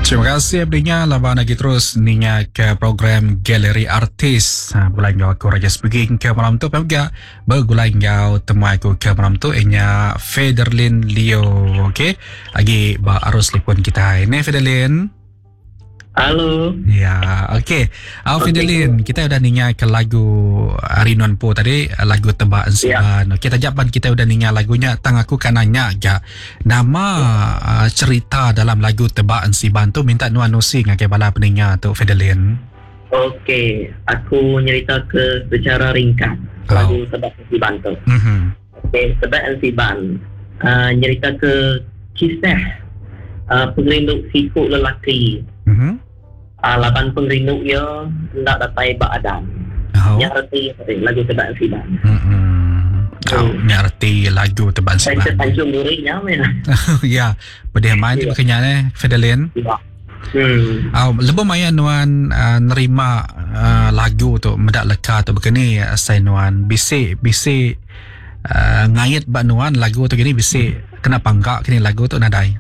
Terima kasih peninga laban agi terus ninga ke program Galeri Artis. Ha, begulai enggau aku Raja Speaking ke malam tu pia mega begulai enggau temuai aku ke malam tu inya Federlin Leo. Okey, agi ba arus telefon kita. Ini Federlin. Halo. Ya, okey. Au okay. Fidelin, kita udah ninga ke lagu Ari Nuan Po tadi, lagu Tebak Ensiban. Ya. Okey, taja pan kita udah ninga lagunya, tang aku kan nanya ga nama uh, cerita dalam lagu Tebak Ensiban tu minta nuan nusi ngagai bala peninga tu Fidelin. Okey, aku nyerita ke secara ringkas oh. lagu Tebak Ensiban tu. Mm -hmm. Okey, Tebak Ensiban uh, nyerita ke kisah uh, pengerindu siku lelaki. Mm -hmm. uh, laban pengerindu ia enda datai ba adan. Oh. Nya reti lagu Tebak Ensiban. Mm -hmm. Oh, nya reti lagu Tebak Ensiban. Saya Tanjung Duri nya meh. Ya, pedih main tu kenya ne, Fedelin. Ya. Hmm. Oh, lebuh maya nuan uh, nerima uh, lagu tu meda leka tu begini asai nuan bisi bisi uh, ngait ba nuan lagu tu gini bisi kena pangka kini lagu tu nadai.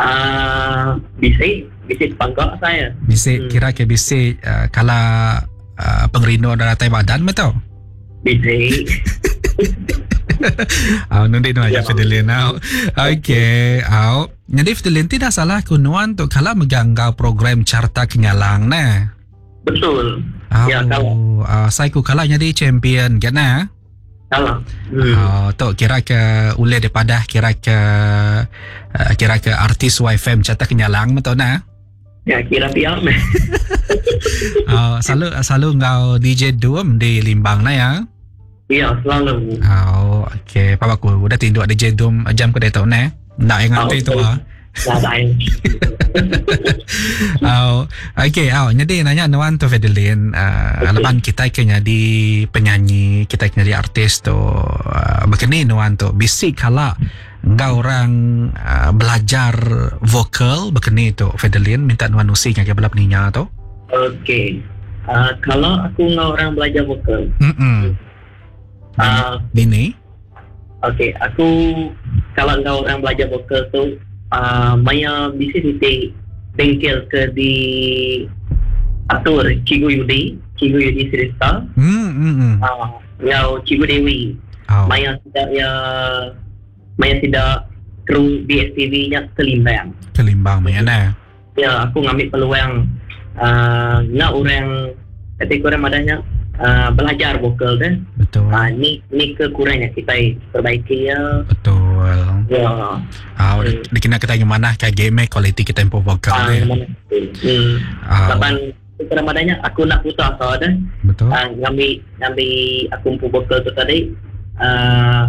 Uh, bisi bisi pangka saya. Bisi hmm. kira ke bisi uh, kala uh, pengerindu datai badan betul. Bisi. Ah, nundi nu aja Fidelin. Okey, au. Nyadi Fidelin ti dah salah ku nuan tu kala mega enggau program Carta Kenyalang neh. Betul. Au, ya kala. Uh, sai ku kala nyadi champion kan neh. Kala. Hmm. Uh, tu kira ke ulih dipadah kira ke uh, kira ke artis YFM Carta Kenyalang betul neh. Ya kira pia meh. Oh, selalu selalu enggau DJ Dum di Limbang na ya. Ya, selalu. Oh, okey. Papa aku udah tinduk DJ Dum jam ke ditu ne. Ndak yang nganti tu ah. Nadai. Oh, okey. Oh, jadi nanya nuan tu Fedelin, uh, okay. laban kita ke nyadi penyanyi, kita ke nyadi artis tu, uh, begini nuan tu bisi kala Enggau orang belajar vokal bekeni tu Fedelin minta nuan nusi ngagai bala peninga tu. Okey. Uh, kalau aku enggau orang belajar vokal. Mm. Dini. Okey, aku kalau enggau orang belajar vokal tu uh, maya bisi siti bengkel ke di atur Cikgu Yudi, Cikgu Yudi Sirista. Hmm. Uh, enggau Cikgu Dewi. Oh. Maya sida iya maya sida kru BSTV nya ke Limbang. Ke Limbang maya nah. Ya, aku ngambi peluang uh, ngena orang kati ku orang madah nya uh, belajar vokal deh. Betul. Uh, ni ni ke kurang nya kitai perbaiki ya. Betul. Ya. Ah, uh, dikena kita ngemanah ka game kualiti kita empu vokal uh, deh. Hmm. Uh, Laban Serang madah nya aku enda putus asa deh. Betul. Uh, ngambi ngambi aku empu vokal tu tadi uh,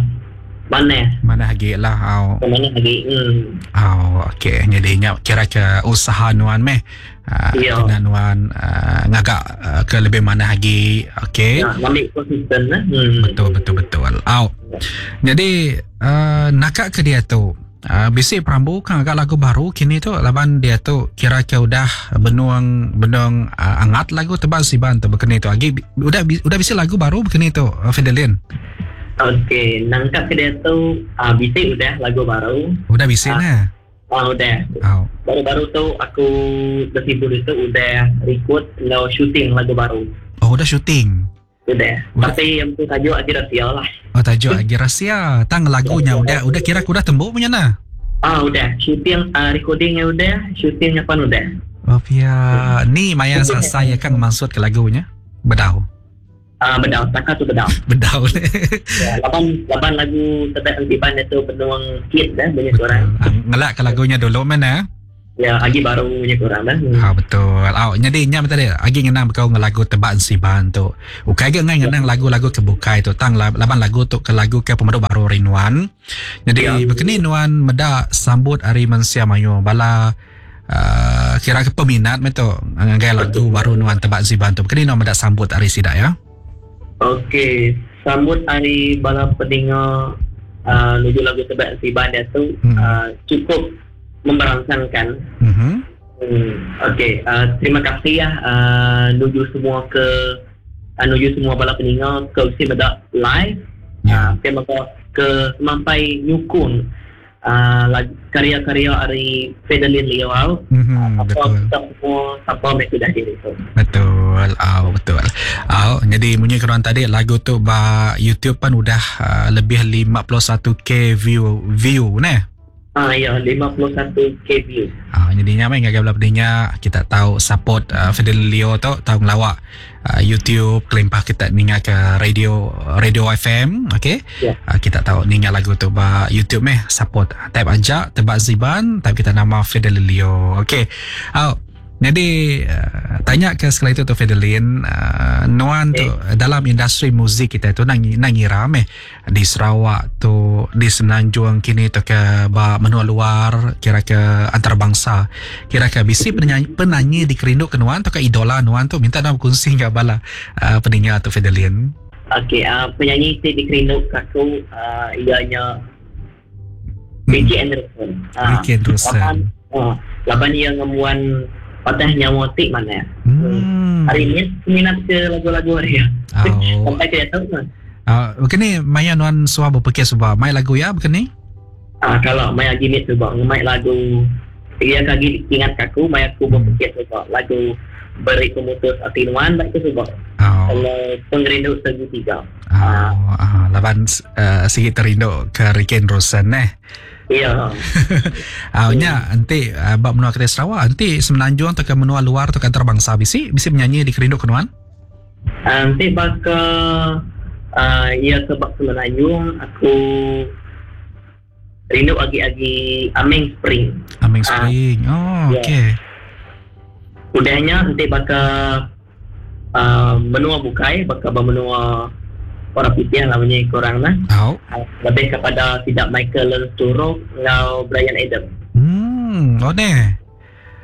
manah. Manah agi lah au. Manah agi. Hmm. Au okey jadi nya kira ke usaha nuan meh. Uh, ya. Kena nuan uh, ngaga uh, ke lebih manah agi. Okey. Ya, ngambi konsisten lah. Hmm. Betul betul betul. Au. Jadi uh, naka ke dia tu Bisi perambu ka ngaga lagu baru kini tu laban diatu kira ke udah benung benung angat lagu tebal siban tu bekeni tu agi udah udah bisi lagu baru bekeni tu Fidelin. Okey nangka ke diatu bisi udah lagu baru. Udah bisi neh. Uh, udah. Oh. Baru-baru tu aku besibu ditu udah record enggau shooting lagu baru. Oh udah shooting. Udah. Tapi yang tu tajuk agi rahsia lah. Oh tajuk agi rahsia. Tang lagu nya udah udah kira aku udah tembu punya nah. Ah udah. Shooting uh, recordingnya udah, shootingnya pun udah. Oh pia. Ni maya selesai ya kan maksud ke lagunya. Bedau. Ah bedau, saka tu bedau. Bedau. ya, laban laban lagu tebak antiban itu benuang hit dah banyak orang. Ah, ngelak ke lagunya dulu mana? Ya, agi baru nya kurang dah. Ha betul. Au nyadi nya tadi agi ngenang bekau ngan lagu Tebak Ensiban tu. Ukai ga ngai ngenang lagu-lagu ke bukai tu tang laban lagu tu ke lagu ke pemadu baru ari nuan. Nyadi ya. bekeni nuan meda sambut ari mensia mayuh bala uh, kira ke peminat meh tu ngagai lagu baru nuan Tebak Ensiban tu. Bekeni nuan meda sambut ari sida ya. Okey, sambut ari bala peninga uh, nuju lagu Tebak Ensiban dia tu hmm. uh, cukup memberangsangkan. Mm-hmm. Hmm, okey, uh, terima kasih ya uh, nuju semua ke uh, nuju semua bala peninga ke usi meda live. Yeah. Uh, ke mega ke semampai nyukung. Lagu karya-karya ari Fedeline Leo au. Mm-hmm, betul. Kita semua sapa meh tudah diri tu. Betul. Au betul. Au jadi munyi keruan tadi lagu tu ba YouTube pan udah lebih 51k view view neh. Ah ya 51k view. Ah jadi nya meh ngagai bala pedinga kita tau support Fedeline Leo tu tau ngelawak YouTube kelimpah kita ninga ke radio radio FM okey. Yeah. Kita tau ninga lagu tu ba YouTube meh support. Type aja Tebak Ziban type kita nama Fedeline Leo. Okey. Au jadi tanya ke sekali tu tu Fedeline nuan tu Okay. dalam industri muzik kita tu nang nang ngira meh di Sarawak tu di Semenanjung kini tu ke ba menua luar kira ke antarabangsa kira ke bisi penyanyi, penyanyi dikerindu ke nuan tu ke idola nuan tu minta nuan berkongsi enggau bala peninga tu Fedeline. Okey, penyanyi ti dikerindu ke aku ianya Ricky Anderson. Ricky Anderson. Laban, laban ia ngembuan patah nyawa ti manah. Hari ni minat ke lagu-lagu dia. Oh. Sampai ke tu mah. Bukan ni maya nuan suah berpikir sebab mai lagu ya bukan ni? Kalau maya gini sebab ngemai lagu ia kagi ingat aku maya aku berpikir sebab lagu beri pemutus ati nuan baik tu sebab kalau pengerindu segitiga. Laban sigi terindu ke Ricky Anderson neh. Ya. Nya enti ba menua kita Sarawak enti Semenanjung atau ke menua luar atau ke antarabangsa bisi bisi penyanyi dikerindu ke nuan? Enti baka ia ke ba Semenanjung aku rindu agi-agi Aming Spring. Aming Spring. Oh, ya. Okey. Udahnya enti baka menua bukai baka ba menua orang putih lah bunyi kurang lah. Lebih kepada tidak Michael Learns to Rock enggau Bryan Adams. Oh neh.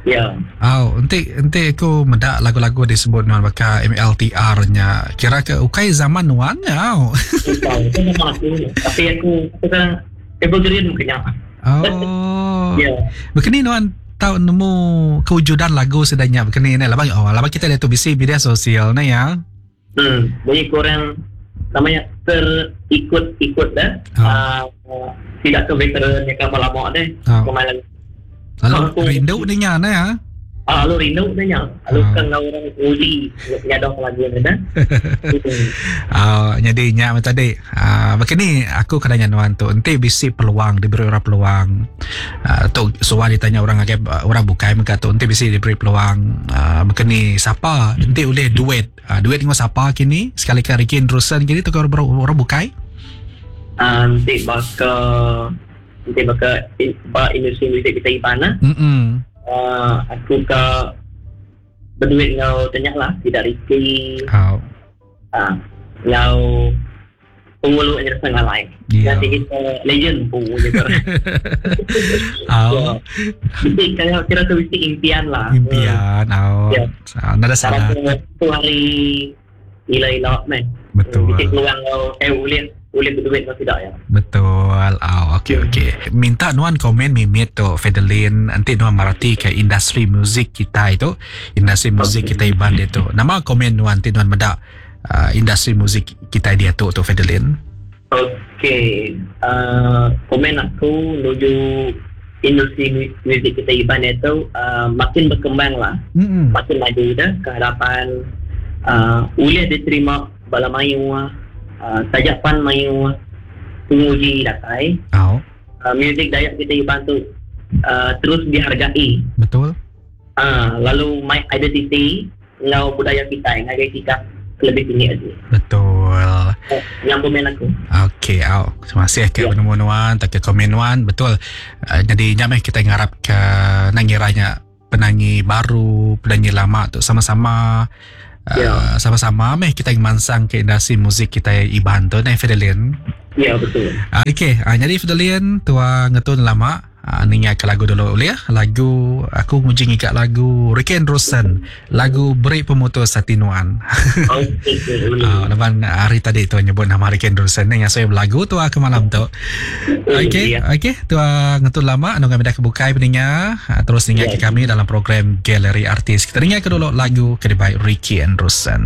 Ya. Oh, enti enti aku meda lagu-lagu disebut nuan baka MLTR nya kira ke ukai zaman nuan nya. Au. Ukai, itu zaman aku. Tapi aku aku kan evergreen mungkin. Oh. Ya. Begini nuan tau nemu kewujudan lagu sedanya begini ni laban oh laban kita dia tu bisi media sosial ni ya. Bunyi kurang namanya terikut-ikut dah. Tidak ke veteran yang kapal lama deh. Kemarin. Lalu Aku- rindu ni nya ne ya. Lalu rindu ni nya. Lalu kan orang uji nyadoh lagu ni dah. Jadi nya macam tadi. Begini aku kena nuan tu enti bisi peluang diberi orang peluang. Tu suah ditanya orang agak orang bukai mega tu enti bisi diberi peluang begini siapa enti oleh duet. Duet dengan siapa kini sekali ke Ricky Anderson kini tu orang, orang bukai. Enti baka enti baka ba industri muzik kita Iban lah. Aku ke berduit ngau tanya lah tidak Ricky. Ngau pengulu yang setengah lain. Nanti kita legend pun gitu. Jadi kalau kira tu mesti impian lah. Impian. Ya. Nada salah. Tu hari ila-ila meh. Betul. Mesti peluang ngau boleh boleh berduit atau tidak ya. Betul. Okey okey. Minta nuan komen mimit tu Fedeline nanti nuan marati ke industri muzik kita itu, industri muzik kita Iban dia tu. Nama komen nuan nanti nuan medak industri muzik kita dia tu tu Fedeline. Okey. Komen aku menuju industri muzik kita Iban itu makin berkembang lah. Makin maju dah ke hadapan boleh diterima bala mayu tajapan mayu penguji datai. Muzik Dayak kita Iban tu terus dihargai. Betul. Lalu my identity ngau budaya kita ngagai kita lebih tinggi lagi. Betul. Yang komen aku. Okey, au. Terima kasih ke penemuan nuan, tak ke komen nuan, betul. Jadi nyamai kita ngarap ke nangiranya penyanyi baru, penyanyi lama tu sama-sama sama-sama meh kita mansang ke industri muzik kita Iban tu neh Fedeline. Ya betul. Okey, jadi Fedeline tua ngetun lama ninga ke lagu dulu boleh ya? Lagu aku nguji ngikat lagu Ricky Anderson, lagu Beri Pemutus Hati Nuan. Okey. Laban hari tadi tu nyebut nama Ricky Anderson ni yang saya berlagu tu ke malam tu. Okey, okey, tua ngetun lama anu kami dah kebukai peninga, terus ninga ke kami dalam program Galeri Artis. Kita dengar ke dulu lagu ke dibaik Ricky Anderson.